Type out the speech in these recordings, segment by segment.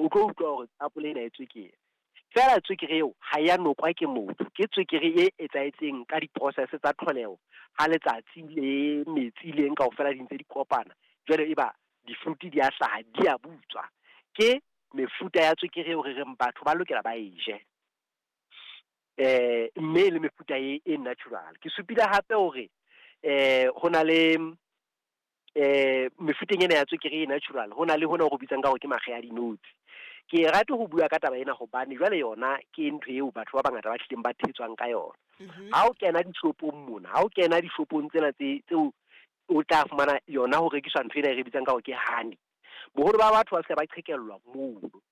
mono, o tlo utlwa hore tapole ena e tswekere. Feela tswekere eo ha ya nokwa ke motho, ke tswekere e etsahetseng ka di-process tsa tlholeho ha letsatsi le metsi le eng kaofela di ntse di kopana, jwale eba di-fruit di a hlaha, di a butswa. Ke mefuta ya tswekere eo re reng batho ba lokela ba e je. Mme le mefuta e natural. Ke supile hape hore ho na le mefuteng ena ya tswekere e natural, ho na le hona ho re bitsang ka hore ke makge a dinotshi. Ke rate ho bua ka taba ena hobane jwale yona ke ntho eo batho ba bangata ba hlileng ba thetswang ka yona. Ha o kena dishopong mona, ha o kena dishopong tsena tse tseo o tla fumana yona ho rekiswa ntho ena e re bitsang ka hore ke honey. Boholo ba batho ba fihla ba qhekellwa mono.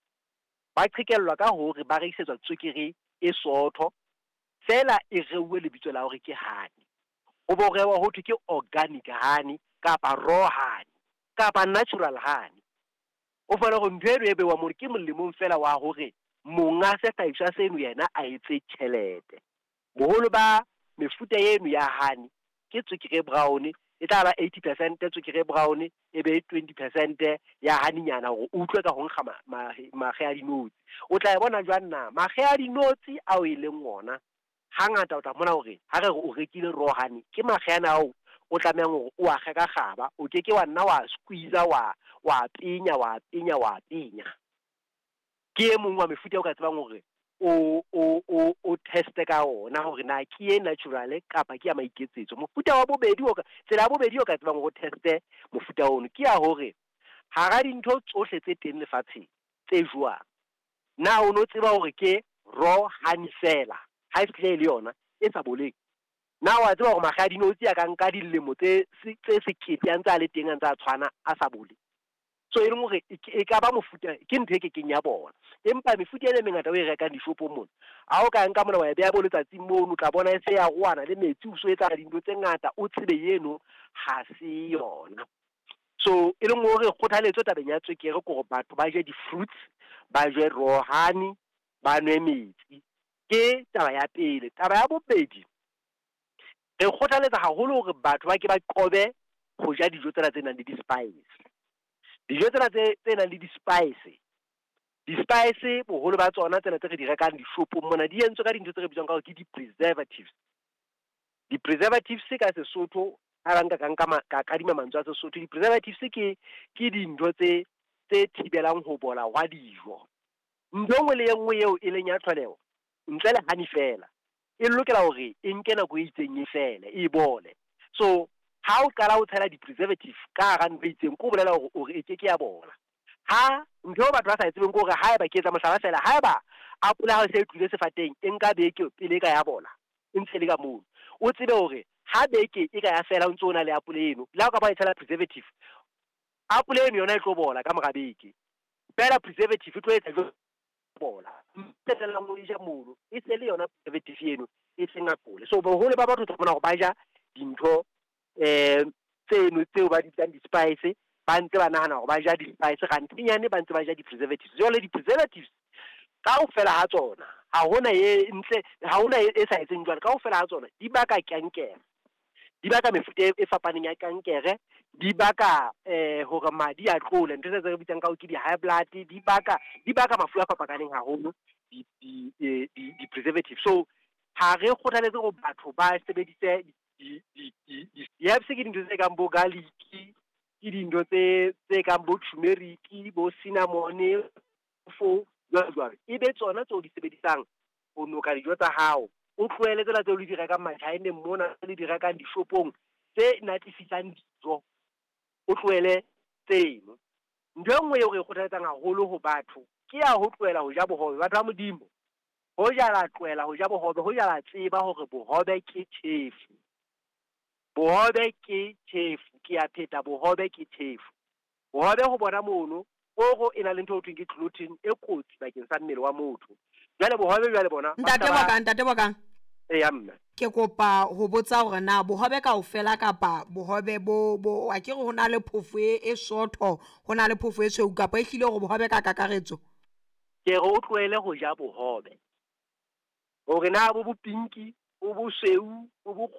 Ba qhekellwa ka hore ba rekisetswa tswekere e sootho, feela e reuwe lebitso la hore ke honey. Ho bo rewa ho thwe ke organic honey kapa raw honey kapa natural honey. O fumane hore ntho eno e bewang mono ke molemong fela wa hore monga sehlahiswa seno yena a etse tjhelete. Boholo ba mefuta eno ya honey ke tswekere e brown, e tla ba 80% tswekere e brown, e be 20% ya honey-nyana hore o utlwe ka ho nkga makge a dinotshi. O tla e bona jwang na? Makge a dinotshi ao e leng ona hangata o tla mona hore ha re re o rekile raw honey, ke makge ana ao o tlamehang hore o a kge ka kgaba, o ke ke wa nna wa squeeze wa penya wa penya wa penya. Ke e mong wa mefuta o ka tsebang hore o teste ka ona hore na ke e natural kapa ke ya maiketsetso. Mofuta wa bobedi o ka tsela ya bobedi o ka tsebang hore o teste mofuta ono ke ya hore hara dintho tsohle tse teng lefatsheng tse jowang, na o no tseba hore ke raw honey fela ha e fihle e le yona e sa boleng? Na wa tseba hore makge a dinotshi a ka nka dilemo tse sekete a ntse a le teng, a ntse a tshwana, a sa bole? So e leng hore e ka ba mofuta, ke ntho e kekeng ya bona. Empa mefuta ena e mengata o e rekang dishopong mona, ha o ka nka mona wa e beha bo letsatsing mono, o tla bona e se ya roana le metsi, o so etsa dintho tse ngata, o tsebe eno ha se yona. So e leng hore kgothaletso tabeng ya tswekere ke hore batho ba je di-fruits, ba je raw honey, ba nwe metsi. Ke taba ya pele. Taba ya bobedi, re kgothaletsa haholo hore batho ba ke ba qobe ho ja dijo tsena tse nang le di-spice. Dijo tsena tse nang le di-spice, di-spice boholo ba tsona tsena tse re di rekang dishopong mona di entswe ka dintho tse re bitswang ka hore ke di-preservatives. Di-preservatives ka Sesotho, ha ba nka ka nka ka kadima mantswe a Sesotho, di-preservatives ke dintho tse thibelang ho bola hwa dijo. Ntho e nngwe le e nngwe eo e leng ya tlholeho, ntle le honey fela, e lokela hore e nke nako e itseng e fele, e bole. So ha o qala o tshela di-preservative ka hara ntho e itseng, ke ho bolela hore o re e keke ya bola. Ha ntho eo batho ba sa e tsebeng ke hore haeba ke etsa mohlala fela, haeba apole ha e se e tlohile sefateng e nka beke pele e ka ya bola, e ntse e le ka mono, o tsebe hore ha beke e ka ya fela o ntso o na le apole eno, le ha o ka ba e tshela preservative, apole eno yona e tlo bola ka mora beke. Fela preservative e tlo etsa jwang bola? Qetellang o e ja mono, e se le yona preservative eno e seng apole. So boholo ba batho o tla bona hore ba ja dintho tseno tseo ba di bitsang di-spice, ba ntse ba nahana hore ba ja di-spice, kgantenyane ba ntse ba ja di-preservatives. Jwale di-preservatives kaofela ha tsona ha hona e ntle, ha hona e sa etseng jwalo, kaofela ha tsona di baka kankere, di baka mefuta e fapaneng ya kankere, di baka hore madi a tlole, ntho tse re bitsang ka hore ke di-high blood, di baka mafu a fapakaneng haholo di-preservatives. So ha re kgothaletse hore batho ba sebedise di-herbs, ke dintho tse kang bo garlic, ke dintho tse kang bo turmeric, bo cinnamon, fo jwalo jwalo, e be tsona tseo di sebedisang ho noka dijo tsa hao. O tlohele tsena tseo le di rekang Machineng mona, le di rekang dishopong tse natefisang dijo, o tlohele tseno. Ntho e nngwe eo re e kgothaletsang haholo ho batho ke ya ho tlohela ho ja bohobe. Batho ba Modimo, hoja la tlohela ho ja bohobe, hoja la tseba hore bohobe ke tjhefu. Bohobe ke tjhefu, ke a pheta, bohobe ke tjhefu. Bohobe ho bona mono, koro e na le ntho e thweng ke gluten e kotsi bakeng sa mmele wa motho. Jwale bohobe jwale bona Ntate Bokang. Eya mme. Ke kopa ho botsa hore na bohobe kaofela kapa bohobe bo a ke re ho na le phofo e sootho, ho na le phofo e tshweu, kapa e hlile hore bohobe ka kakaretso? Ke re o tlohele ho ja bohobe. Hore na bo bo pinki, bo bosweu, bo bo